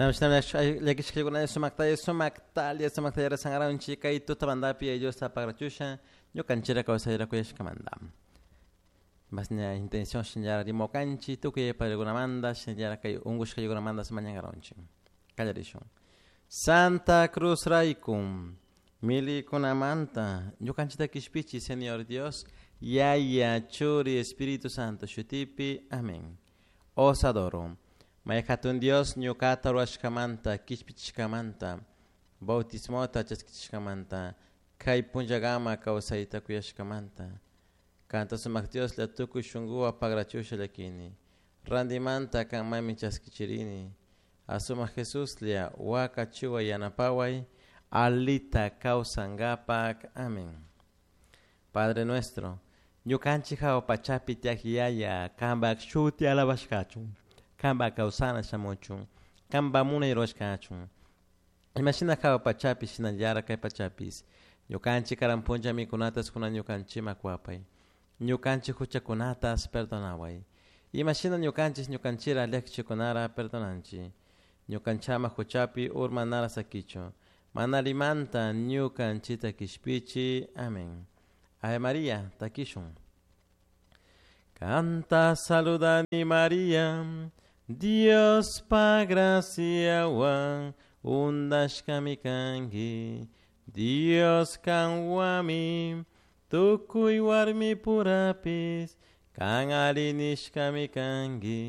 Llakishkakuna sumakta sumaktalla sumakta rezangaranchik kay tutamantapi Diosta pagrachusha ñukanchikra kawsayra kuyashkamanta. Masña intención shinallara rimokanchik tukuy paykunamanta shinallara kay unkushkakunamanta mañankaranchik. Kallarishun. Santa Cruz raykum milikunamanta ñukanchikta kishpichi Señor Dios Yaya Churi Espíritu Santo shutipi. Amén. Os adoro. May hatun Dios ñuqata rurashkamanta kishpichishkamanta bautismota chaskichishkamanta kay punllakama kawsayta kuyashkamanta kanta sumak Dioslla tukuy shunkuwan pagrachusha llakini rantimanta kanmanmi chaskichirini asumak Jesuslla wakachiway yanapaway alita kawsankapak. Amén. Padre nuestro, ñukanchik hawa pachapi tiyak yaya kanpak shuti alabashkachun kanpak kawsana shamuchun kanpak munay rurashkachun imashina hawa pachapi shinallara kay pachapis ñukanchik karan punlla mikunatas kunan ñukanchikman kuwapay ñukanchik huchakunatas perdonaway imashina ñukanchik ñukanchikra llakichikunara perdonanchik ñukanchama huchapi urmanara sakichun mana allimanta ñukanchikta kishpichi. Amén. Ave María, takishun. Kanta saludani María, Dios pa graciawan undashkami kanki, Dios kanwami, tukuy warmi purapis, kan ari nishkami kanki.